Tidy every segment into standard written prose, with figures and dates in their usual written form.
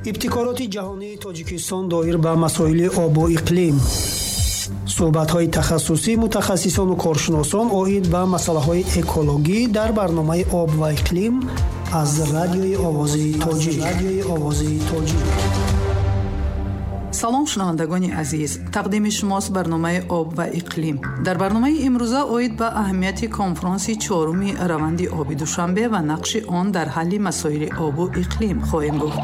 Ибтикороти ҷаҳонии Тоҷикистон доир ба масоили обу иқлим. Суҳбатҳои тахассусӣ мутахассисону коршиносон оид ба масъалаҳои экологӣ дар барномаи «Об ва иқлим» аз Радиои Овози Тоҷик. Радиои Овози Тоҷик. Салом, шунавандагони азиз! Тақдими шумост барномаи «Об ва иқлим». Дар барномаи имрӯза оид ба аҳамияти конфронси чоруми раванди оби Душанбе ва нақши он дар ҳалли масоили обу иқлим хоҳем гуфт.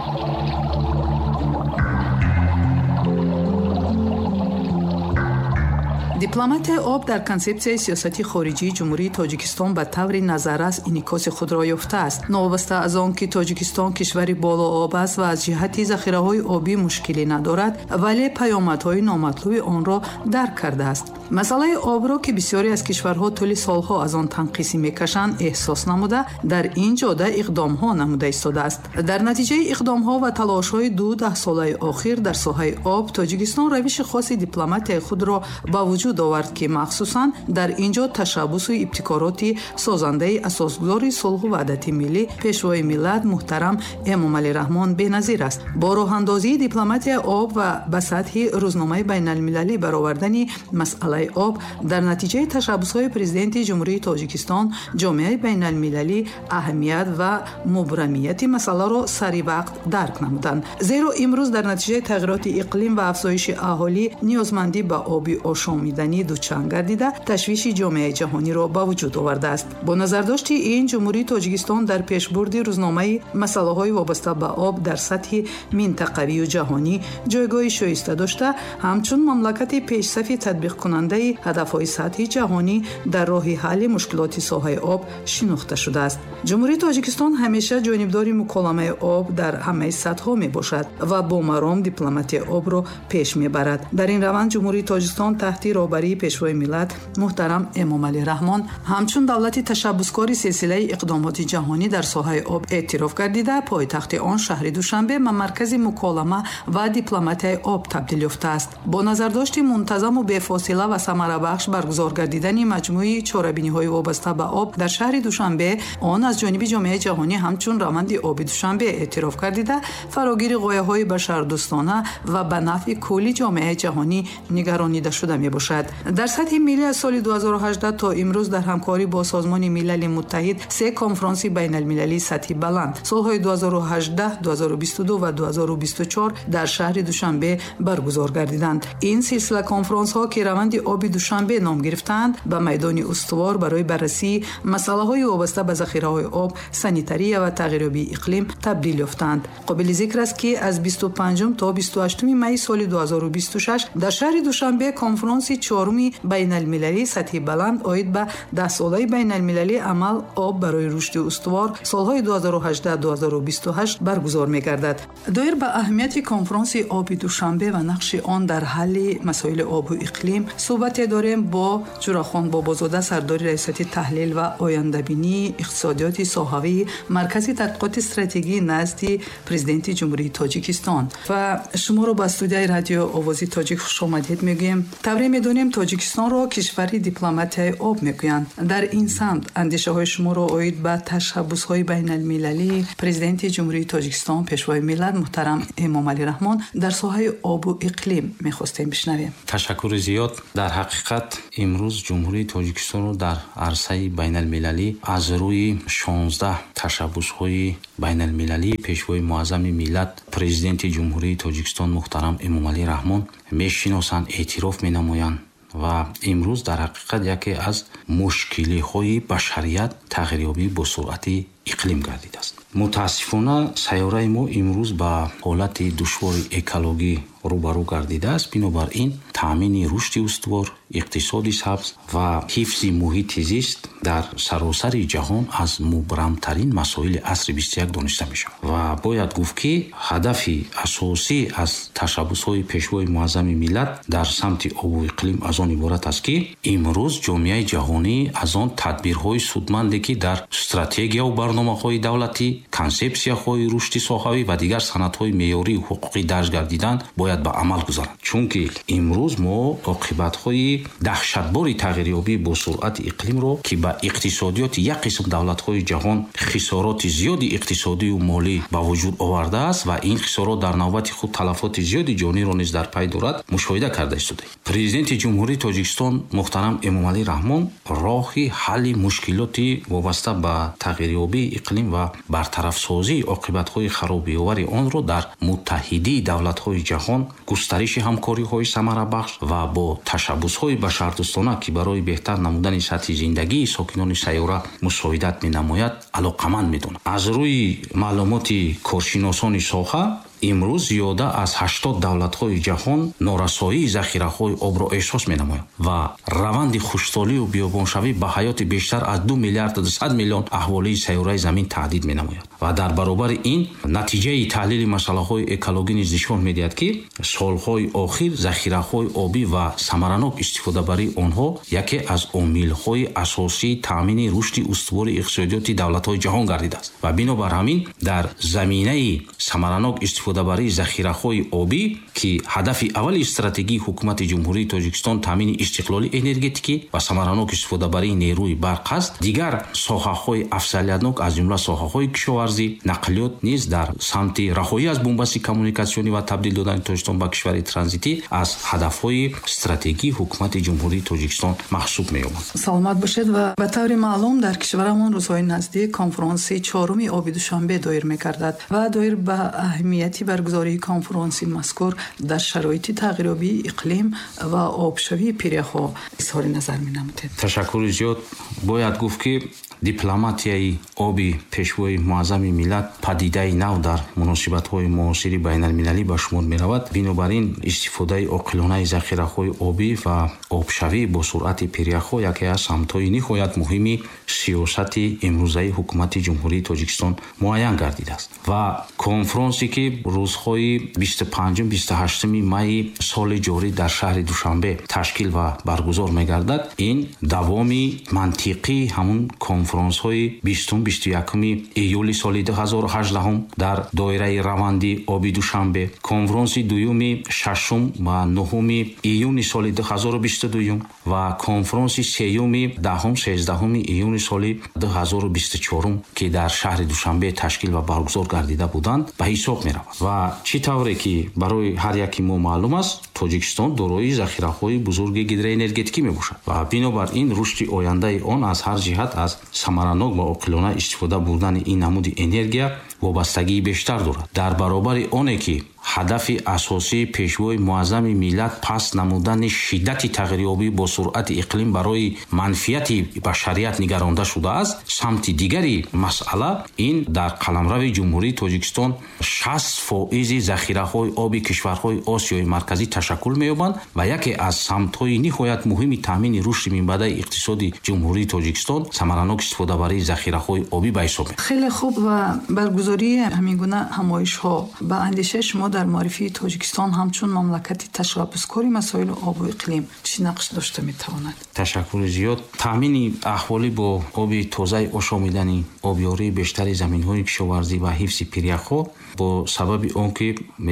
Дипломатияи об дар консепсияи сиёсати хориҷии Ҷумҳурии Тоҷикистон ба таври назаррас инъикоси худро ёфтааст. Новобаста аз он ки Тоҷикистон кишвари болооб аст ва аз ҷиҳати захираҳои обӣ мушкилӣ надорад, вале паёмадҳои номатлуби онро дарк кардааст. Масъалаи обро, ки бисёре аз кишварҳо тӯли солҳо аз он танқисӣ мекашанд, эҳсос намуда, дар ин ҷода иқдомҳо намуда истодааст. Дар натиҷаи иқдомҳо ва талошҳои ду даҳсолаи охир дар соҳаи об, Тоҷикистон равиши хоси дипломатияи худро ба вуҷуд овард, ки махсусан дар ин ҷо ташаббусу ибтикороти созандаи асосгузори сулҳу ваҳдати миллӣ, Пешвои миллат муҳтарам Эмомалӣ Раҳмон беназир аст. Бо роҳандозии дипломатияи об ва ба сатҳи рӯзномаи байналмилалӣ баровардани масъалаи об дар натиҷаи ташаббусҳои Президенти Ҷумҳурии Тоҷикистон, ҷомеаи байналмилалӣ аҳамият ва мубрамияти масъаларо сари вақт дарк намуданд. Зеро имрӯз дар натиҷаи тағйироти иқлим ва афзоиши аҳолӣ ниёзмандӣ ба оби ошомиданӣ дучанд гардида, ташвиши ҷомеаи ҷаҳониро ба вуҷуд овардааст. Бо назардошти ин, Ҷумҳурии Тоҷикистон дар пешбурди рӯзномаи масъалаҳои вобаста ба об дар сатҳи минтақавию ҷаҳонӣ ҷойгоҳи шоиста дошта, ҳамчун мамлакати пешсафи татбиқкунандаи ҳадафҳои сатҳи ҷаҳонӣ дар роҳи ҳалли мушкилоти соҳаи об шинохта шудааст. Ҷумҳурии Тоҷикистон ҳамеша ҷонибдори муколамаи об дар ҳамаи сатҳҳо мебошад ва бо маром дипломатияи обро пеш мебарад. Дар ин раванд Ҷумҳурии Тоҷикистон таҳти роҳбарии Пешвои миллат муҳтарам Эмомалӣ Раҳмон ҳамчун давлати ташаббускори силсилаи иқдомоти ҷаҳонӣ дар соҳаи об эътироф гардида, пойтахти он шаҳри Душанбе ба маркази муколама ва дипломатияи об табдил ёфтааст. Бо назардошти мунтазаму бефосила ва самарабахш баргузор гардидани маҷмӯи чорабиниҳои вобаста ба об дар шаҳри Душанбе, он аз ҷониби ҷомеаи ҷаҳонӣ ҳамчун раванди оби Душанбе эътироф гардида, фарогири ғояҳои башардӯстона ва ба нафъи кулли ҷомеаи ҷаҳонӣ нигаронида шуда мебошад. Дар сатҳи миллӣ аз соли 2018 то имрӯз дар ҳамкорӣ бо Созмони Милали Муттаҳид се конфронси байналмилалии сатҳи баланд солҳои 2018, 2022 ва 2024 дар шаҳри Душанбе баргузор гардиданд. Ин силсила конфронсҳо, ки раванди оби Душанбе ном гирифтаанд, ба майдони устувор барои баррасии масъалаҳои вобаста ба захираҳои об, санитария ва тағйирёбии иқлим табдил ёфтаанд. Қобили зикр аст, ки аз 25 то 28 майи соли 2026 дар шаҳри Душанбе конфронси чоруми байналмилалии сатҳи баланд оид ба даҳсолаи байналмилалии амал «Об барои рушди устувор» солҳои 2018-2028 баргузор мегардад. Доир ба аҳамияти конфронси оби Душанбе ва нақши он дар ҳалли масоили обу иқлим суҳбате дорем бо Ҷурахон Бобозода, сардори раёсати таҳлил ва ояндабинии иқтисодиёти соҳавии Маркази тадқиқоти стратегии назди Президенти Ҷумҳурии Тоҷикистон. Ва шуморо ба студияи Радио Овози Тоҷик хушомадед мегӯем. Тавре медонем, Тоҷикистонро кишвари дипломатияи об мегӯянд. Дар ин самт андешаҳои шуморо оид ба ташаббусҳои байналмилалии Президенти Ҷумҳурии Тоҷикистон, Пешвои миллат муҳтарам Эмомалӣ Раҳмон дар соҳаи обу иқлим мехостем бишнавем. Ташаккури зиёд. Дар ҳақиқат, имрӯз Ҷумҳурии Тоҷикистонро дар арсаи байналмилалӣ аз рӯи 16 ташаббусҳои байналмилалии Пешвои муаззами миллат, Президенти Ҷумҳурии Тоҷикистон муҳтарам Эмомалӣ Раҳмон мешиносанд, эътироф менамоянд. Ва имрӯз дар ҳақиқат яке аз мушкилиҳои башарият тағйирёбӣ бо суръати иқлим гардидааст. Мутаассифона, сайёраи мо имрӯз ба ҳолати душвори экологӣ рӯбарӯ гардидааст. Бинобар ин, таъмини рушди устувор, иқтисоди сабз ва ҳифзи муҳити зист дар саросари ҷаҳон аз мубрамтарин масоили асри 21 дониста мешавад. Ва бояд гуфт, ки ҳадафи асосӣ аз ташаббусҳои Пешвои муаззами миллат дар самти обу иқлим аз он иборат аст, ки имрӯз ҷомеаи ҷаҳонӣ аз он тадбирҳои судманде, ки дар стратегияу Барномаҳои давлатӣ, консепсияҳои рушди соҳавӣ ва дигар санадҳои меъёрию ҳуқуқӣ дарҷ гардидан бояд ба амал гузаранд. Чунки имрӯз мо оқибатҳои даҳшатбори тағйирёбии бо суръати иқлимро, ки ба иқтисодиёти як қисм давлатҳои ҷаҳон хисороти зиёди иқтисодию молӣ ба вуҷуд овардааст ва ин хисорот дар навбати худ талафоти зиёди ҷониро низ дар пай дорад, мушоҳида карда истодаем. Президенти Ҷумҳурии Тоҷикистон муҳтарам Эмомалӣ Раҳмон роҳи ҳалли мушкилоти вобаста ба тағйирёбии иқлим ва бартарафсозии оқибатҳои харобиовари онро дар муттаҳидии давлатҳои ҷаҳон, густариши ҳамкориҳои самарабахш ва бо ташаббусҳои башардӯстона, ки барои беҳтар намудани сатҳи зиндагии сокинони сайёра мусоидат менамояд, алоқаманд медонад. Аз рӯи маълумоти коршиносони соҳа, имрӯз зиёда аз 80 давлатҳои ҷаҳон норасоии захираҳои обро эҳсос менамоянд ва раванди хушксолию биёбоншавӣ ба ҳаёти бештар аз 2 миллиарду 200 миллион аҳолии сайёраи Замин таҳдид менамояд. Ва дар баробари ин натиҷаи таҳлили масъалаҳои экологӣ низ нишон медиҳад, ки солҳои охир захираҳои обӣ ва самаранок истифодабарии онҳо яке аз омилҳои асосии таъмини рушди устувори иқтисодиёти давлатҳои ҷаҳон гардидааст. Ва бинобар ҳамин дар заминаи самаранок истифодабарии захираҳои обӣ, ки ҳадафи аввали стратегии ҳукумати Ҷумҳурии Тоҷикистон таъмини истиқлоли энергетикӣ ва самаранок истифодабарии нерӯи барқ аст, дигар соҳаҳои афзалиятнок аз ҷумла соҳаҳои кишоварзӣ, нақлиёт низ дар самти раҳоӣ аз бунбасти коммуникатсионӣ ва табдил додани Тоҷикистон ба кишвари транзитӣ аз ҳадафҳои стратегии ҳукумати Ҷумҳурии Тоҷикистон маҳсуб меёбанд. Саломат бошед. Ва ба таври маълум дар кишварамон рӯзҳои наздик конфронси чоруми оби Душанбе доир мегардад ва доир ба аҳамияти баргузории конфронси мазкур дар шароити тағйирёбии иқлим ва обшавии пиряхҳо изҳори назар менамудед. Ташаккури зиёд. Бояд гуфт, ки дипломатияи оби пешвои муаззами миллат падидаи нав дар муносибатҳои муосири байналмилалӣ ба шумор меравад. Бинобар ин истифодаи оқилонаи захираҳои обӣ ва обшавӣ бо суръати пиряхҳо яке аз самтҳои ниҳоят муҳими сиёсати имрӯзаи ҳукумати Ҷумҳурии Тоҷикистон муайян гардидааст. Ва конфронсе, ки рӯзҳои 25-28 майи соли ҷорӣ дар шаҳри Душанбе ташкил ва баргузор мегардад, ин давоми мантиқии ҳамун конфронсҳои 20-21 июли соли 2018 дар доираи раванди оби Душанбе, конфронси дуюми 6 ва 9 июни соли 2022 ва конфронси сеюми 10-13 июни соли 2024, ки дар шаҳри Душанбе ташкил ва баргузор гардида буданд, ба ҳисоб меравад. Ва чӣ тавре ки барои ҳар яки мо маълум аст, Тоҷикистон дорои захираҳои бузурги гидроэнергетикӣ мебошад ва бинобар ин рушди ояндаи он аз ҳар ҷиҳат аз самаранок ва оқилона истифода бурдани ин намуди энергия вобастагии бештар дорад. Дар баробари оне ки ҳадафи асосии пешвои муаззами миллат паст намудани шиддати тағйирёбӣ бо суръати иқлим барои манфиати башарият нигаронда шудааст, самти дигари масъала ин дар қаламрави Ҷумҳурии Тоҷикистон 60% захираҳои оби кишварҳои Осиёи Марказӣ ташаккул меёбанд ва яке аз самтҳои ниҳоят муҳими таъмини рушди минбаъдаи иқтисоди Ҷумҳурии Тоҷикистон самаранок истифодабарии захираҳои обӣ ба ҳисоб меояд. Хеле хуб. Ва баргузории ҳамин гуна ҳамоишҳо ба андешаи шумо дар муаррифии Тоҷикистон ҳамчун мамлакати ташаббускори масоили обу иқлим чӣ нақш дошта метавонад? Ташаккури зиёд. Таъмини аҳолӣ бо оби тозаи ошомиданӣ, обёрии бештари заминҳои кишоварзӣ ва ҳифзи пиряхҳо бо сабаби он ки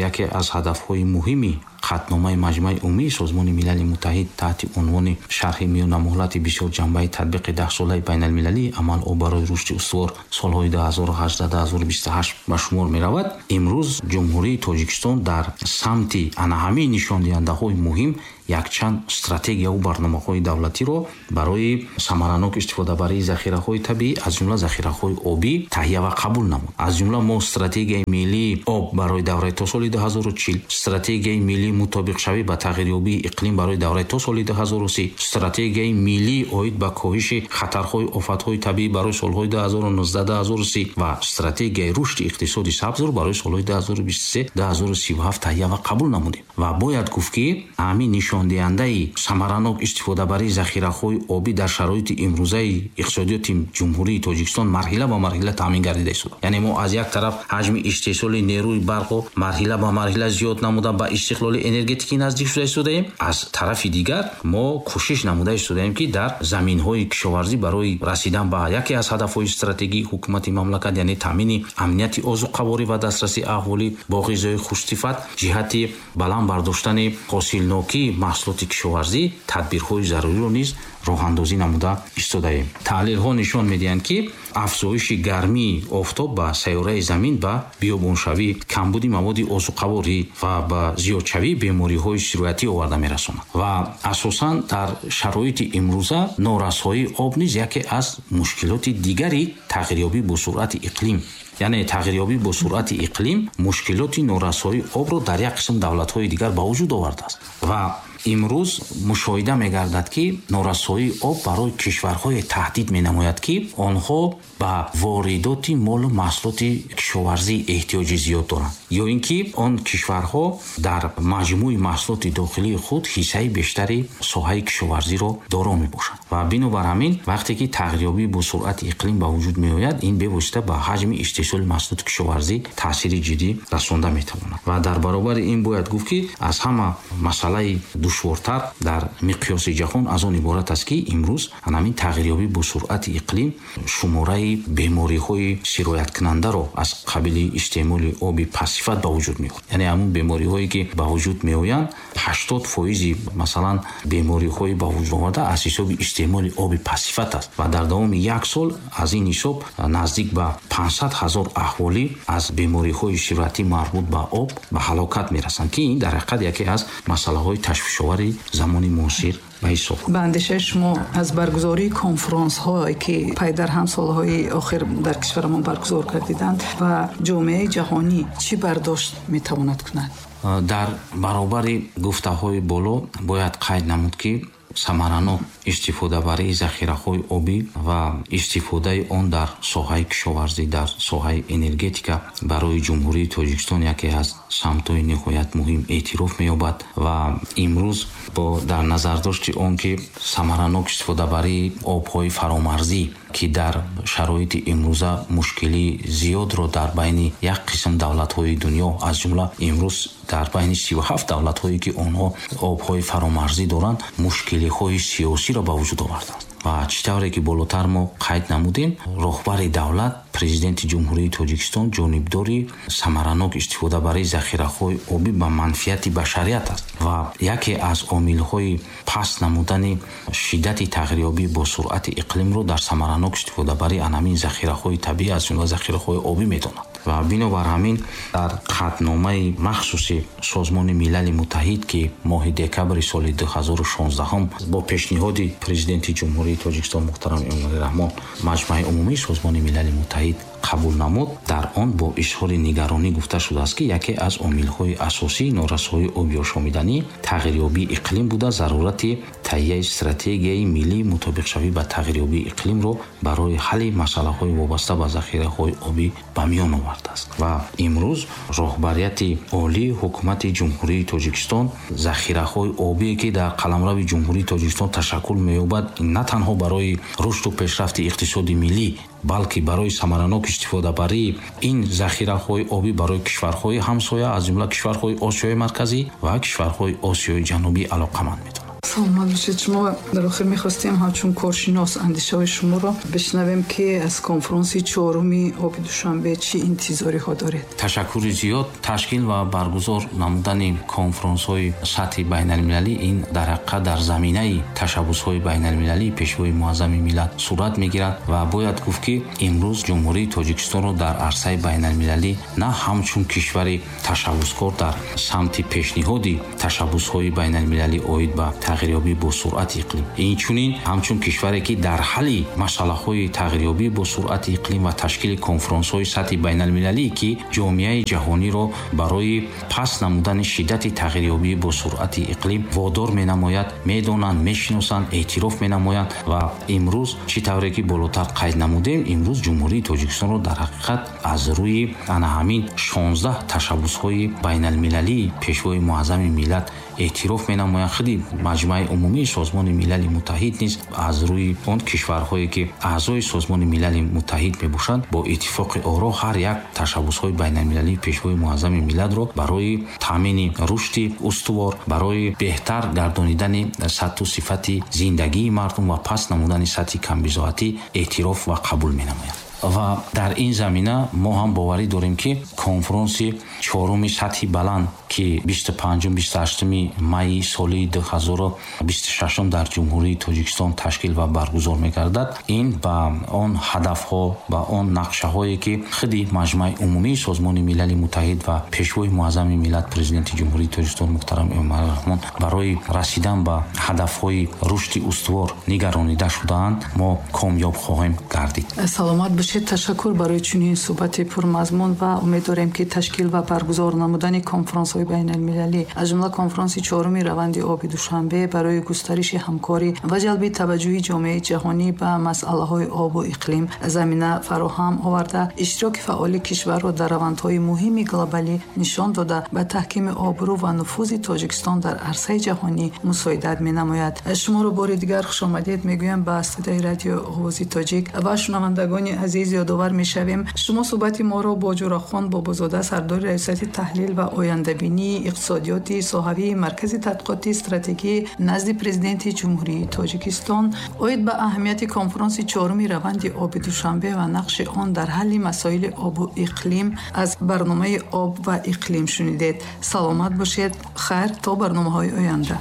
яке аз ҳадафҳои муҳими қатъномаи Маҷмаи Умумии Созмони Милали Муттаҳид таҳти унвони шарҳи миёнамуҳлати бисёрҷанбаи татбиқи даҳсолаи байналмилалии амал об барои рушди устувор солҳои 2018-2028 ба шумор меравад, имрӯз Ҷумҳурии Тоҷикистон дар самти ана ҳамин нишондиҳандаҳои муҳим якчанд стратегияву барномаҳои давлатиро барои самаранок истифодабарии захираҳои табиӣ, аз ҷумла захираҳои обӣ таҳия ва қабул намуд. Аз ҷумла мо стратегияи миллии об барои давраи то соли 2040, стратегияи миллии мутобиқшавӣ ба тағйирёбии иқлим барои давраи то соли 2030, стратегияи миллии оид ба коҳиши хатарҳои офатҳои табиӣ барои солҳои 2019-2030 ва стратегияи рушди иқтисоди сабзро барои солҳои 2023-2037 таҳия ва қабул намудем. Ва бояд гуфт, ки ҳамин нишондиҳандаи самаранок истифодабарии захираҳои обӣ дар шароити имрӯзаи иқтисодиёти Ҷумҳурии Тоҷикистон марҳила ба марҳила таъмин гардида истодааст. Яъне мо аз як тараф ҳаҷми истеҳсоли нерӯи барқро марҳила ба марҳила зиёд намуда ба истиқлоли энергетикӣ наздик шуда истодаем, аз тарафи дигар мо кӯшиш намуда истодаем, ки дар заминҳои кишоварзӣ барои расидан ба яке аз ҳадафҳои стратегии ҳукумати мамлакат, яъне таъмини амнияти озуқаворӣ ва дастрасии аҳолӣ бо ғизои хушсифат, ҷиҳати баланд бардоштани ҳосилнокии маҳсулоти кишоварзӣ тадбирҳои заруриро низ роҳандозӣ намуда истодаем. Таҳлилҳо нишон медиҳанд, ки афзоиши гармии офтоб ба сайёраи замин ба биёбоншавӣ, камбуди маводи озуқаворӣ ва ба зиёдшавии бемориҳои сироятӣ оварда мерасонад ва асосан дар шароити имрӯза норасоии об низ яке аз мушкилоти дигари тағйирёбӣ бо суръати иқлим, яъне тағйирёбӣ бо суръати иқлим мушкилоти норасоии обро дар як қисм давлатҳои дигар ба вуҷуд овардааст ва имрӯз мушоҳида мегардад, ки норасоии об барои кишварҳое таҳдид менамояд, ки онҳо ба воридоти молу маҳсулоти кишоварзӣ эҳтиёҷи зиёд доранд ё ин ки он кишварҳо дар маҷмӯи маҳсулоти дохилии худ ҳиссаи бештари соҳаи кишоварзиро доро мебошанд. Ва бинобар ҳамин вақте ки тағйирёбӣ бо суръати иқлим ба вуҷуд меояд, ин бевосита ба ҳаҷми истеҳсоли маҳсулоти кишоварзӣ таъсири ҷиддӣ расонда метавонад. Ва дар баробари ин бояд гуфт, ки аз ҳама масъалаи душвортар дар миқёси ҷаҳон аз он иборат аст, ки имрӯз ҳамин тағйирёбӣ бо суръати иқлим шумораи бемориҳои сирояткунандаро аз қабили истеъмоли оби пастсифат ба вуҷуд меорад. Яъне ҳамун бемориҳое ки ба вуҷуд меоянд, 80% масалан бемориҳои ба вуҷуд омада аз ҳисоби истеъмоли оби пастсифат аст ва дар давоми як сол аз ин ҳисоб наздик ба 500 ҳазор аҳолӣ аз бемориҳои сироятӣ марбут ба об ба ҳалокат мерасанд, ки ин дар ҳақиқат яке аз масъалаҳои ташвишовари замони муосир ба ҳисоб. Ба андешаи шумо аз баргузории конфронсҳое ки пай дар ҳам солҳои охир дар кишварамон баргузор гардиданд ва ҷомеаи ҷаҳонӣ чӣ бардошт метавонад кунад? Дар баробари гуфтаҳои боло бояд қайд намуд, ки самаранок истифодабарии захираҳои обӣ ва истифодаи он дар соҳаи кишоварзӣ, дар соҳаи энергетика барои Ҷумҳурии Тоҷикистон яке аз самтҳои ниҳоят муҳим эътироф меёбад ва имрӯз бо дар назардошти он ки самаранок истифодабарии обҳои фаромарзӣ, ки дар шароити имрӯза мушкилии зиёдро дар байни як қисм давлатҳои дунё, аз ҷумла имрӯз дар байни 37 давлатҳое ки онҳо обҳои фаромарзӣ доранд, мушкилиҳои сиёсиро ба вуҷуд оварданд. Ва чӣ тавре ки болотар мо қайд намудем, роҳбари давлат, Президенти Ҷумҳурии Тоҷикистон ҷонибдори самаранок истифодабарии захираҳои обӣ ба манфиати башарият аст ва яке аз омилҳои паст намудани шиддати тағйирёбӣ бо суръати иқлимро дар самаранок истифодабарии ҳамин захираҳои табиӣ, аз ҷумла захираҳои обӣ медонад. Ва бинобар ҳамин дар қатъномаи махсуси Созмони Милали Муттаҳид, ки моҳи декабри соли 2016 бо пешниҳоди Президенти Ҷумҳурии Тоҷикистон муҳтарам Эмомалӣ Раҳмон Маҷмаи Умумии Созмони Милали Муттаҳид қабул намуд, дар он бо изҳори нигаронӣ гуфта шудааст, ки яке аз омилҳои асосии норасоии оби ошомиданӣ тағйирёбии иқлим буда, зарурати таҳияи стратегияи миллии мутобиқшавӣ ба тағйирёбии иқлимро барои ҳалли масъалаҳои вобаста ба захираҳои обӣ ба миён овардааст. Ва имрӯз роҳбарияти олии ҳукумати Ҷумҳурии Тоҷикистон захираҳои обие, ки дар қаламрави Ҷумҳурии Тоҷикистон ташаккул меёбад, на танҳо барои рушду пешрафти иқтисоди миллӣ, балки барои самаранок истифодабарии ин захираҳои обӣ барои кишварҳои ҳамсоя, аз ҷумла кишварҳои Осиёи Марказӣ ва кишварҳои Осиёи Ҷанубӣ алоқаманд медонад. Саломат бошед. Шумо дар охир мехостем ҳамчун коршинос андешаҳои шуморо бишнавем, ки аз конфронси чоруми оби Душанбе чӣ интизориҳо доред? Ташаккури зиёд. Ташкил ва баргузор намудани конфронсҳои сатҳи байналмилалӣ ин дар ҳақиқат дар заминаи ташаббусҳои байналмилалии Пешвои муаззами миллат сурат мегирад ва бояд гуфт, ки имрӯз Ҷумҳурии Тоҷикистонро дар арсаи байналмилалӣ на ҳамчун кишвари ташаббускор дар самти пешниҳоди ташаббусҳои байналмилалӣ оид ба тағйирёбӣ бо суръати иқлим, инчунин ҳамчун кишваре ки дар ҳалли масъалаҳои тағйирёбӣ бо суръати иқлим ва ташкили конфронсҳои сатҳи байналмилалӣ, ки ҷомеаи ҷаҳониро барои паст намудани шиддати тағйирёбӣ бо суръати иқлим водор менамояд, медонанд, мешиносанд, эътироф менамоянд. Ва имрӯз чӣ тавре ки болотар қайд намудем, имрӯз Ҷумҳурии Тоҷикистонро дар ҳақиқат аз рӯи ана ҳамин 16 ташаббусҳои байналмилалии Пешвои муаззами миллат Эътироф менамоянд. Худи Маҷмаи Умумии Созмони Милали Муттаҳид низ аз рӯи он кишварҳое, ки аъзои Созмони Милали Муттаҳид мебошанд, бо иттифоқи оро ҳар як ташаббусҳои байналмилалии Пешвои Муаззами миллатро барои таъмини рушди устувор, барои беҳтар гардонидани сатҳу сифати зиндагии мардум ва паст намудани сатҳи камбизоатӣ эътироф ва қабул менамоянд. Ва дар ин замина мо ҳам боварӣ дорем, ки конфронси чоруми сатҳи баланд, ки 25-28 майи соли 2026 дар Ҷумҳурии Тоҷикистон ташкил ва баргузор мегардад, ин ба он ҳадафҳо, ба он нақшаҳое, ки худи Маҷмаи Умумии Созмони Милали Муттаҳид ва Пешвои Муаззами миллат, Президенти Ҷумҳурии Тоҷикистон муҳтарам Эмомалӣ Раҳмон барои расидан ба ҳадафҳои рушди устувор нигаронида шудаанд, мо комёб хоҳем гардид. Саломат бошед. Ташаккур барои чунин суҳбати пурмазмун ва умед дорем, ки ташкил ва баргузор намудани конфронсҳои байналмилалӣ, аз ҷумла конфронси чоруми раванди оби Душанбе, барои густариши ҳамкорӣ ва ҷалби таваҷҷӯҳи ҷомеаи ҷаҳонӣ ба масъалаҳои обу иқлим замина фароҳам оварда, иштироки фаъоли кишварро дар равандҳои муҳими глобалӣ нишон дода, ба таҳкими обрӯ ва нуфузи Тоҷикистон дар арсаи ҷаҳонӣ мусоидат менамояд. Шуморо бори дигар хушомадед мегӯям ба студияи радио Овози Тоҷик ва шунавандагони азиз, ёдовар мешавем, шумо суҳбати моро бо Ҷурахон Бобозода, сардори Раёсати таҳлил ва ояндабинии иқтисодиёти соҳавии Маркази тадқиқоти стратегӣ назди Президенти Ҷумҳурии Тоҷикистон оид ба аҳамияти конфронси чоруми раванди оби Душанбе ва нақши он дар ҳалли масоили обу иқлим аз барномаи «Об ва иқлим» шунидед. Саломат бошед. Хайр, то барномаҳои оянда.